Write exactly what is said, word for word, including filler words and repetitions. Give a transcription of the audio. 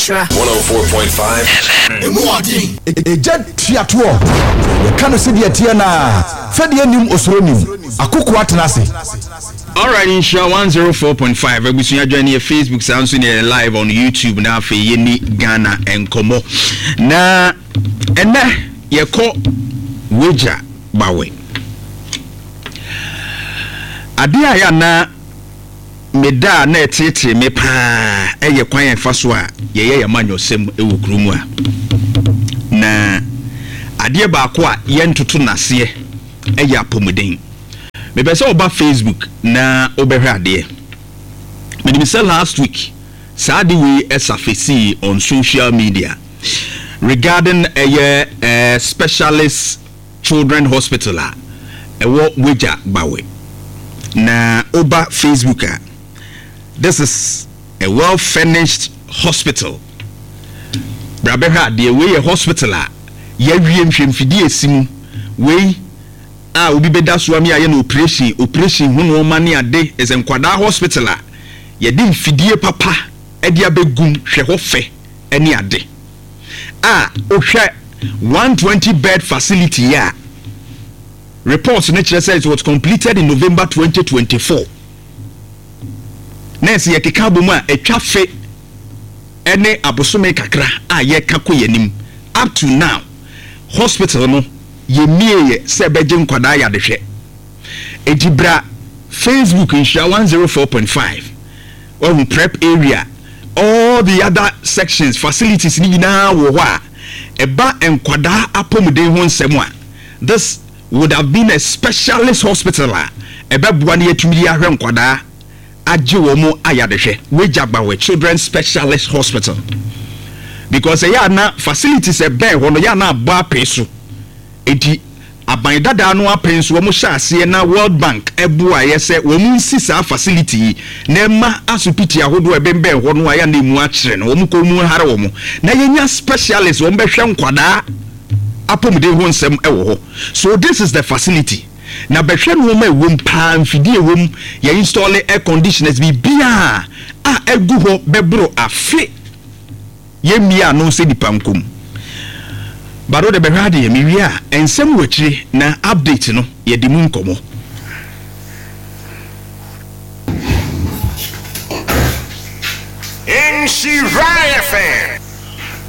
Nhyira one oh four point five F M. Egya tuatoɔ yɛka no sɛdeɛ teɛ naa fɛdeɛ nim osoro nim akoko atena ase. Alright, Nhyira one oh four point five abusua join yɛ Facebook saa nso ne live on YouTube na afei yɛni Ghana nkɔmmɔ na ɛnɛ yɛkɔ Weija Gbawe. Adeɛ a yɛ na meda na ɛtetee me paa ɛyɛ kwan a ɛfa so a yɛyɛ yɛn amanyɔsɛm ɛwɔ kurom a na adeɛ baako a yɛntoto n'aseɛ ɛyɛ apɔmuden. Mepɛ sɛ ɔba Facebook na wobɛhwɛ adeɛ. Menim sɛ last week saa de wei ɛsafesi on social media regarding ɛyɛ uh, specialist children hospital a ɛwɔ Weija Gbawe. Na oba Facebook a, this is a well furnished hospital. Bra bɛhwɛ adeɛ. Wei yɛ hospital a yɛawie nhwɛmfidie esi mu. Wei a obi bɛda so ami ayɛ no operation operation ho nneɛma ne ade. Ɛsɛ nkwadaa hospital a yɛde mfidie papa ɛde abɛgum. Hwɛ hɔ fɛ ɛne ade a wohwɛ one twenty bed facility a report no kyerɛ sɛ it was completed in November twenty twenty four. Na ɛsɛ yɛkeka abɔ mu a atwa fe ɛne abosome kakra a yɛka kɔ yɛn anim. Up to now hospital no yɛmie yɛ sɛ ɛbɛgye nkwadaa yɛadehwɛ. Eti bra Facebook Nhyira one zero four point five ɔhu prep area, all the other sections, facilities ni nyinaa wɔ hɔ a ɛba nkwadaa apɔmuden ho nsɛm a this would have been a specialist hospital a ɛbɛboa ne yɛtumi de ahwɛ nkwadaa agye wɔn mo ayadehwɛ. Weija Gbawe Children Specialist Hospital, because ɛyɛ ana facilities ɛbɛn hɔ no yɛ ana abɔ apee so. Eti aban dadaa no apɛn so wɔn hyɛ aseɛ na World Bank ɛboa yɛ sɛ wɔn nsi saa facility yi na ɛma asopiti ahodoɔ ɛbɛnbɛn hɔ no a yɛ na emu akyerɛ no wɔn kɔn mu hare wɔn na yɛnya specialist wɔn bɛhwɛ nkwadaa apɔmuden ho nsɛm ɛwɔ hɔ. So this is the facility na bɛhwɛ nneɛma ɛwɔ mu paa, mfidie ɛwɔ mu, yɛ install air conditioners, biribiara a ɛgu hɔ bɛboro afe yɛmmie ano sɛ nipa nkom bado de bɛhwɛ adeɛ. Mewie a nsɛm wɔ akyire na update no yɛde mu nkɔmmɔ. Nhyira F M.